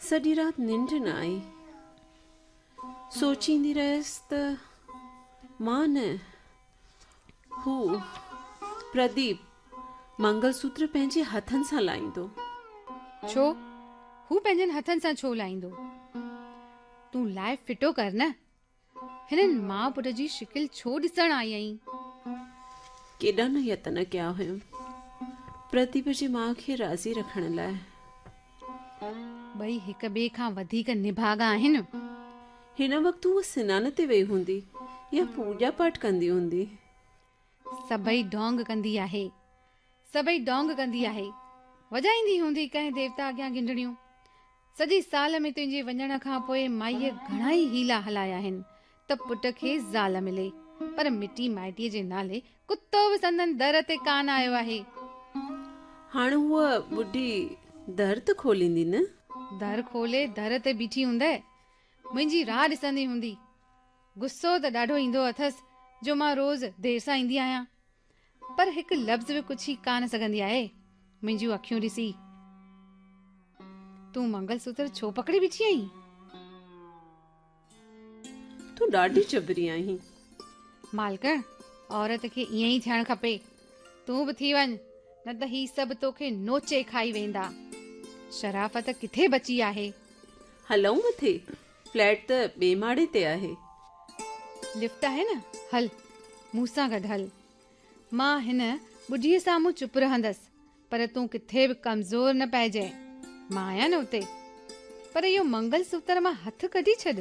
سڄي رات ننڊ نه آئي. سوچيندي رهيس ته مان نه، هو، پرديپ، منگل سوتر پنهنجي هٿن سان لائيندو. ڇو؟ هو پنهنجن هٿن سان ڇو لائيندو؟ تون لائي ڦٽو ڪر نه. هنن ماء پٽ جي شڪل ڇو ڏسڻ آئي آهين؟ ڪيڏا نه يتن ڪيا هيم پرديپ جي ماء کي راضي رکڻ لاء. ٻئي هڪ ٻئي کان وڌيڪ نڀاڳا آهن. هن وقت هوء سنان تي وئي هوندي يا پوڄا پاٺ ڪندي هوندي. سڀئي ڍونگ ڪندي آهي. سڀئي ڍونگ ڪندي آهي. وڄائيندي هوندي ڪنهن ديوتا اڳيان گهنڊڻيون. سڄي سال ۾ تنهنجي وڃڻ کان پوء مائيء گهڻا ئي حيلا هلايا آهن ته پٽ کي زال ملي، پر مٽي مائٽيء جي نالي ڪتو به سندن در تي ڪانه آيو آهي. هاڻ هوء ٻڍي در ته کوليندي نه؟ در کولي در تي بيٺي هوندء، منهنجي راهه ڏسندي هوندي. غصو ته ڏاڍو ايندو اٿس جو مان روز دير سان ايندي آهيان، پر هڪ لفظ به ڪڇي ڪانه سگهندي آهي منهنجون اکيون ڏسي. تون منگل سوتر ڇو پڪڙي بيٺي آهين؟ تون ڏاڍي جبري آهين. مالڪڻ، عورت کي ائين ئي ٿيڻ کپي. تون به ٿي وڃ، نه ته هي سڀ توکي نوچي کائي ويندا. شرافت ڪٿي بچي آهي؟ هلون مٿي، فليٽ ته ٻي ماڙي تي آهي. لفٽ آهي نه، هل مون سان گڏ هل. مان هن ٻڍيء سامهون چپ رهندس، پر تون ڪٿي به ڪمزور نه پئجانء. مان آهيان نه اتي. پر اهو منگل سوتر مان هٿ ڪڍي ڇڏ.